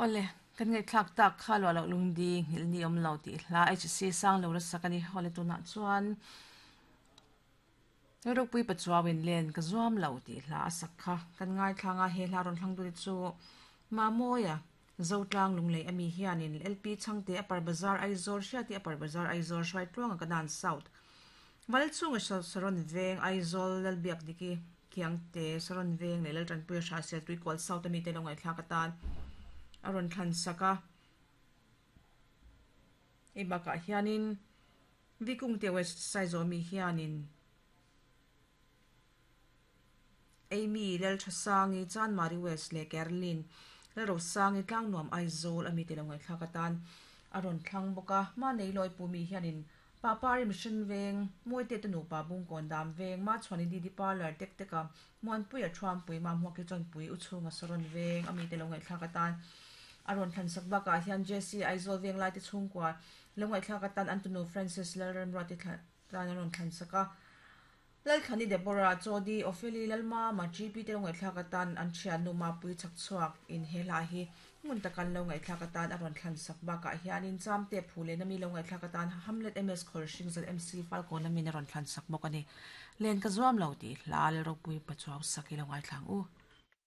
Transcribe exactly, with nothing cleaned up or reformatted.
Ole kan ngai thlak tak kha lo lo lungdi ngil ni om lo ti hla H C sang lo ra sakani hole tuna chuan Ropui pachuawin len ka zuam lo ti hla a sakha kan ngai thlanga he hla ron thlang tu chu ma moya zotlang lunglei ami hianin L P changte upper bazar Aizawl hriati upper bazar Aizawl hruai tluanga kanan south wal chunga saron veng Aizawl lalbiak diki khiangte saron veng le laltan puia hra sel tui kol south ami te lo ngai thlak atan aron thlan saka e baka hianin vikung te west saizo mi hianin Amy lel thasangi chan mari west le Carlin le rosangi tlangnuam Aizawl ami te lo ngai thlak atan aron thlang boka ma nei loi pu mi hianin papari mission veng moite te nu pa bung kon dam veng ma chhani di di parlor tek teka mon pui a thram pui ma hmuak ki chon pui u chunga saron veng ami te lo ngai thlak atan aron thlan sak baka hian J C Aizawl veng lai te chhungkwa lo ngai thlak atan Antonu Francis Lalrem rati tan aron thlan saka Lalkhani Deborah Chodi Opheli Lalma ma G P te lo ngai thlak atan an thian nu ma pui chak chuak in hela hi ngun takan lo ngai thlak atan aron thlan sak baka hianin chamte phule nami lo ngai thlak atan Hamlet M S Khol Sing Z M C Falcon nami na ron thlan sak bawk ani len ka zuam lo ti hla le ropui pachuaw saki lo ngai thlang u.